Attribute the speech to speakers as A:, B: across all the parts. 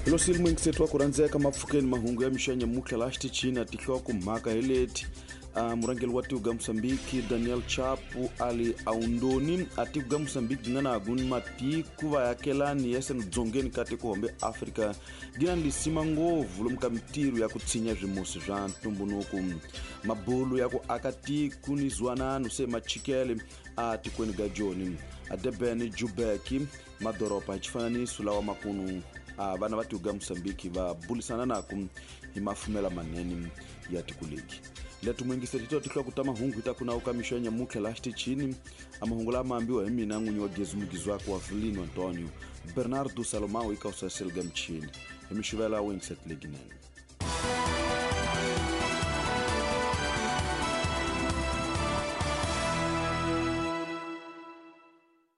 A: Hilosile muyingiseti wa ku rhandzeka mapfukeni mahungu ya mixanya mutlha laha xitichini a tihloko mhaka hi leti. Murhangeri wa tiko ga Mosambiki Daniel Chapo ali aundoni a tiko ga Mosambiki nga na ni matiko vayakelani ya seno dzongeni ka tiko hombe Afrika gi na lisima ngopfu lomu ka mintirho ya ku tshinya swimusi swa ntumbuluko. Mabulu ya ku aka tiko ni zwanano se machikele a tikweni ga Joni a Durban Joburg madoroba hi xifananiso lawa makunu a vana va tiko ga Mosambiki va bulisana naku hi mafumela manene ya tiko leki. Leto muyingiseri hi to tihloko ta mahungu hi ta ku nawu ka mixo ya nyamutlha laha xitichini. A mahungu lama ambiwa hi mina n'winyi wa gezi mugizi wakwe wa Vilino Antonio Bernardo Salomão eka usaseli ga michini hi mixuvela wu yingiseti leginene.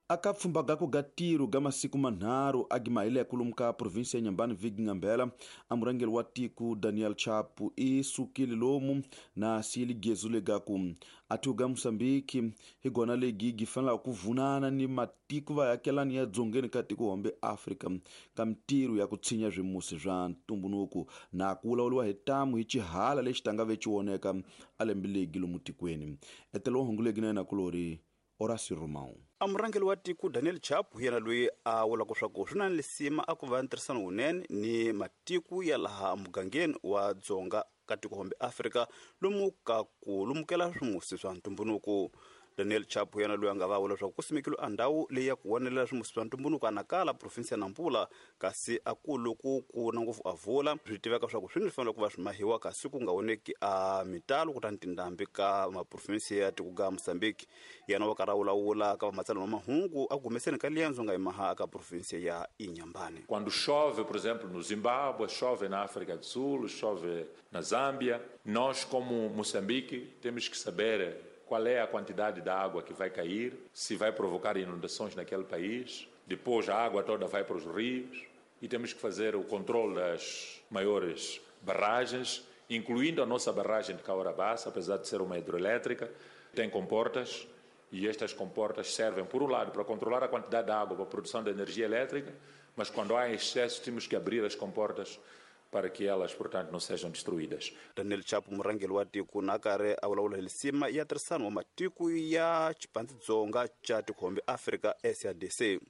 A: Aka pfhumba gako ga tiro ga masiku manharhu a gimahile kulumu ka provinsia ya Inhambane vhiki ngambela a murhangeri wa tiko Daniel Chapo i sukile lomu na siyile gezu legaku a tiko ga Mosambiki hi gona legi gi fanelaka ku vunana ni matiko vayakelani ya dzongeni ka tiko hombe Afrika ka mintirho ya ku tshinya swimusi swa ntumbuluko na ku vulavuriwa hi tamu hi xihala lexi tanga ve xi a lembe legi lomu tikweni. Etelo wa hungu legi na yena kulori Horácio Romão.
B: A murhangeri wa tiko Daniel Chapo hi yena loyi a vulaka leswaku swi na lisima a ku va ntirhisano wunene ni matiko ya laha mugangeni wa dzonga ka tiko hombe Afrika lomu ka ku lumukela swimusi swa ntumbuluko. Daniel Chapo yena loyi a nga va vula leswaku ku simekile a ndhawu leyi ya ku vonelela swimusi swa ntumbuluko a Nakala provinsi ya Nampula, kasi a ku loko ku na ngopfu a vula swi tiveka leswaku swi ni fanele ku va swi mahiwa kasi ku nga voneki a mitalo kutani tindhambi ka maprovinsi ya tiko ga Mozambique. Yena wa karhi a vulavula ka vamatsalani va mahungu a humeseni ka liendzo nga yimaha ka provinsi ya Inhambane.
C: Quando chove, por exemplo, no Zimbábue, chove na África do Sul, chove na Zâmbia, nós como Moçambique temos que saber qual é a quantidade de água que vai cair, se vai provocar inundações naquele país. Depois a água toda vai para os rios e temos que fazer o controle das maiores barragens, incluindo a nossa barragem de Cahora-Bassa, apesar de ser uma hidroelétrica, tem comportas e estas comportas servem, por um lado, para controlar a quantidade de água para a produção de energia elétrica, mas quando há excesso temos que abrir as comportas para que elas, portanto, não sejam destruídas.
B: Daniel Chapo murhangeri wa tiko na karhi a vulavula hi lisima ya tirhisano wa matiko ya xipandzidzonga xa tikhombe Afrika SADC.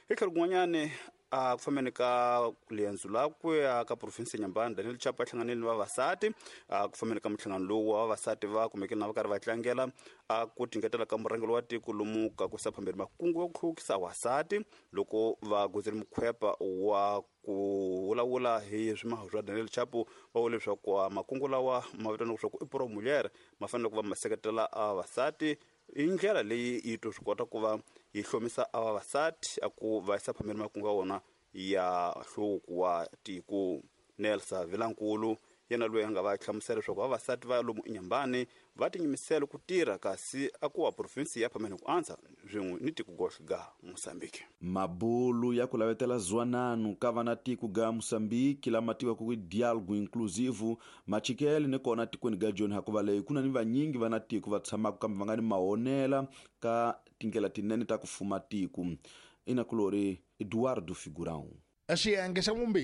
B: Hi tlhelo kun'wanyani a ku fambeni ka liendzo lakwe ka provinsi ya Inhambane, Daniel Chapo a hlanganile ni vavasati. A ku fambeni ka minhlangano lowu wa vavasati va kumekile na va karhi va tlangela a ku tingetela ka murhangeri wa tiko lomu ka ku yisa phambeni makungu ya ku hluvukisa vavasati loko va godzile mukhwepa wa ku vulavula hi swimaho swa Daniel Chapo. Va vule leswaku makungu lawa ma vitaniwa leswaku i Pro Mulher ma fanele ku va ma seketela vavasati hi ndlela leyi yi to swi kota ku va yi hlomisa a vavasati a ku va yisa phambeni makungu ya vona ya nhluvuko wa tiko. Nelsa Vilankulu yena loyi a nga va hlamusela leswaku vavasati va lomu Inhambane va tinyimisela ku tirha kasi a ku wa provinsi ya phambeni ku antswa swin'we ni tiko gohle ga Mozambique.
A: Mabulu ya ku lavetela zwanano ka vana tiko ga Mozambique lama tiwaka ku dialogue inclusive machikele ni kona tikweni ga Joni hakuva leyi ku na ni vanyingi vana tiko va tshamaka kambe va nga ni mahonela ka tindlela tinene ta ku fuma tiko. Inakulori Eduardo Figurão.
D: Xiyenge xa vumbirhi.